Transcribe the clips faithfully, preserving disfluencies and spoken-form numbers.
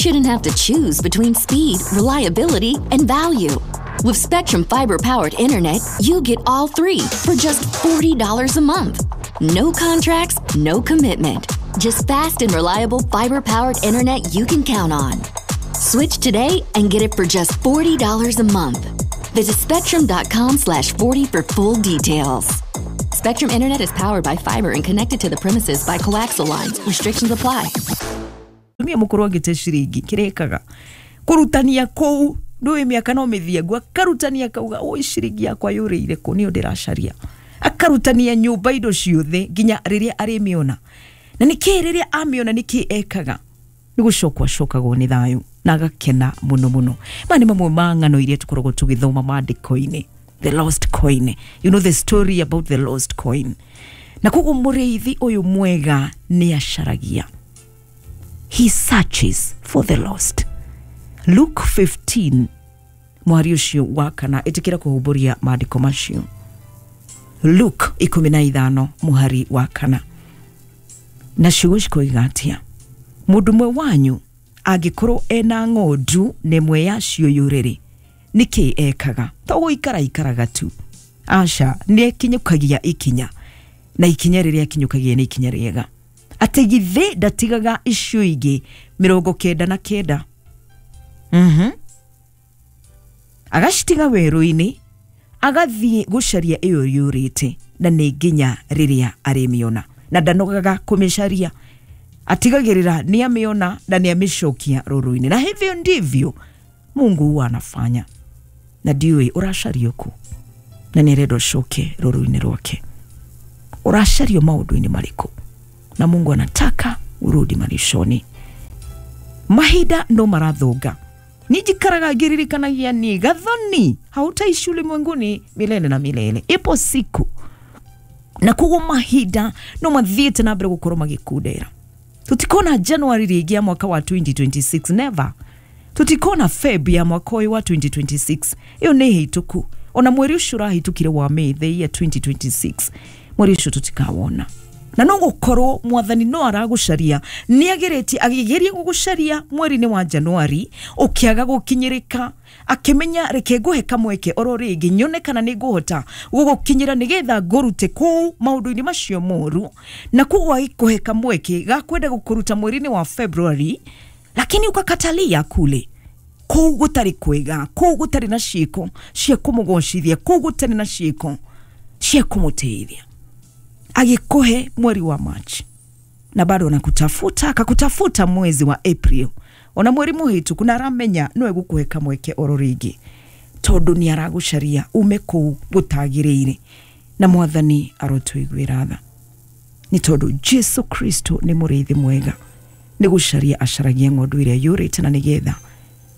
shouldn't have to choose between speed, reliability, and value. With Spectrum Fiber powered internet, you get all three for just forty dollars a month. No contracts, no commitment. Just fast and reliable fiber powered internet you can count on. Switch today and get it for just forty dollars a month. Visit spectrum dot com slash forty for full details. Spectrum Internet is powered by fiber and connected to the premises by coaxial lines. Restrictions apply. Tumia mũkũrũ angĩte ciringi kĩrĩkaga kũrutania kũu ndũĩ mĩaka no mĩthiangu, akarutania akauga, "Oi, ciringi yakwa yũrĩire kũ? Nĩyo ndĩracaria." Akarutania nyũmba, indo ciothe, nginya rĩrĩa arĩmĩona. Na nĩkĩ rĩrĩa amĩona, nĩkĩ ekaga? Nĩ gũcokwo acokagwo nĩ thayũ na agakena mũno mũno. Maya nĩ mamwe ma ng'ano iria tũkoragwo tũgĩthoma maandĩko-inĩ. The lost coin, you know the story about the lost coin. Na koguo mũrĩithi ũyũ mwega nĩ acaragia, he searches for the lost. Luke fifteen mwari ũcio wa kana, ĩtĩkĩra kũhumbũria maandĩko macio. Luke ikũmi na ithano mũhari wa kana, na ciugo cikoiga atĩa? Mũndũ ũmwe wanyu angĩkorwo ena ng'ondu na ĩmwe yacio yũrĩrĩ, nĩkĩ ekaga? To gũikara ikaraga tu? Aca, nĩ ekinyũkagia ikinya, na ikinya rĩrĩa akinyũkagia nĩ ikinya rĩega. Atĩ githĩ ndatigaga icio ingĩ mĩrongo kenda na kenda, mhm agacitiga werũ-inĩ, agathiĩ gũcaria ĩyo yũrĩte, na nĩ nginya rĩrĩa arĩmĩona, na ndanogaga kũmĩcaria, atigagĩrĩra nĩ amĩona na nĩ amĩcokia rũru-inĩ. Na hivyo ndivyo Mungu huwa anafanya. Na ndiũĩ ũracario kũ, na nĩ arenda ũcoke rũru-inĩ rwake. Ũracario maũndũ-inĩ marĩkũ? Na Mungu anataka urudi malishoni. Mahinda no marathũnga. Nijikaraga ngĩririkanagia ni gathoni, hautaishi ulimwenguni milele na milele, ipo siku. Na koguo mahinda no mathiĩte na mbere gũkorwo magĩkundera. Tutikona January rĩngĩ ya mwaka wa twenty twenty-six, never. Tutikona Feb ya mwaka ũyũ wa twenty twenty-six, ĩyo nĩ hĩtũku. Ona mweri ũcio ũrahĩtũkire wa May the year twenty twenty-six, mweri ũcio tũtikawona. Na no gũkorwo mwathani no aragũcaria, nĩ ageretie, agĩgeria gũgũcaria mweri-inĩ wa January, ũkĩaga gũkinyĩrĩka, akĩmenya, "Reke ngũhe kamweke oro rĩngĩ, nyone kana nĩ ngũhota gũgũkinyĩra nĩgetha ngũrute kũu maũndũ-inĩ macio moru." Na koguo agĩkũhe kamweke ga kwenda gũkũruta mweri-inĩ wa February, lakini ukakatalia kule kũu gũtarĩ kwega, kũu gũtarĩ na ciĩko cia kũmũgocithia, kũu gũtarĩ na ciĩko cia kũmũteithia. Agĩkũhe mweri wa March na bado anakutafuta, akakutafuta mwezi wa April, ona mweri mũhĩtũku, na aramenya no egũkũhe kamweke oro rĩngĩ, tondũ nĩ aragũcaria ume kũu gũtagĩrĩire. Na mwathani arotũiguĩra tha, nĩ tondũ Jesu Kristo nĩ mũrĩithi mwega, nĩ gũcaria acaragia ng'ondu ĩrĩa yũrĩte, na nĩgetha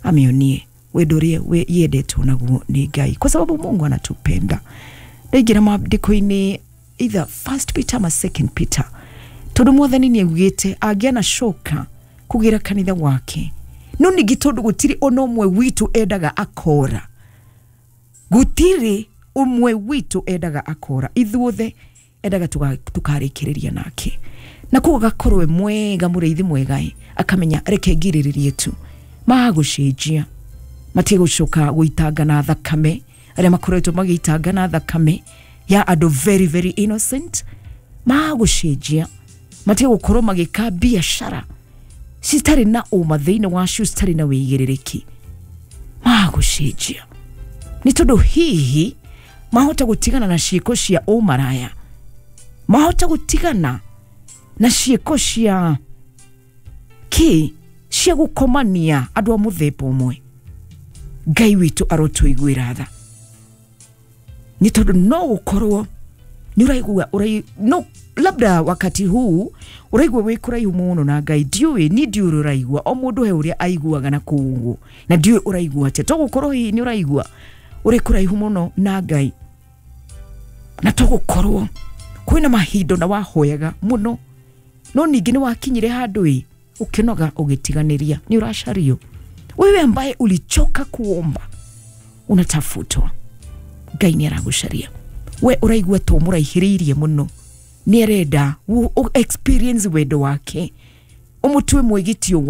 amĩonie wendo ũrĩa we- yendetwo naguo nĩ Ngai, kwa sababu Mungu anatupenda. Ndaingĩra maandĩko-inĩ, either First Peter ama Second Peter, tondũ mwathani nĩ augĩte angĩanacoka kũgĩra kanitha wake. No ningĩ tondũ gũtirĩ ona ũmwe witũ endaga akora, gũtirĩ ũmwe witũ endaga akora, ithuothe endaga tuga- tukarĩkĩrĩria nake. Na koguo agakorwo e mwega, mũrĩithi mwega ĩ, akamenya, "Reke ngirĩrĩrie tu, magũcenjia, matigũcoka gũitanga na thakame arĩa makoretwo magĩitanga na thakame ya andũ very very innocent. Magũcenjia, matige gũkorwo magĩka biacara citarĩ na ũma thĩinĩ wacio, citarĩ na wĩigĩrĩrĩki. Magũcenjia nĩ tondũ hihi mahota gũtigana na ciĩko cia ũmaraya, mahota gũtigana na ciĩko cia kĩ cia gũkomania andũ a mũthemba ũmwe." Ngai witũ arotũiguĩra tha, nĩ tondũ no gũkorwo nĩ ũraigua ũrai, no labda wakati huu ũraigua wĩ kũraihu mũno na Ngai. Ndiũĩ, ni ndiũĩ ũrĩa ũraigua. O mũndũ he ũrĩa aiguaga na kũu ũguo, na ndiũĩ ũraigua atĩa. To gũkorwo hihi nĩ ũraigua ũrĩ kũraihu mũno na Ngai, na to gũkorwo kwĩna mahinda na wahoyaga mũno, no ningĩ nĩ wakinyire handũ ĩ ũkĩnoga, ũgĩtiganĩria. Nĩ ũracario. Wewe ambaye ulichoka kuomba, unatafutwa. Ngai nĩ aragũcaria. We ũraigua to mũraihĩrĩirie mũno, nĩ arenda ũ- ũ- experience wendo wake, ũmũtue mwĩgitio.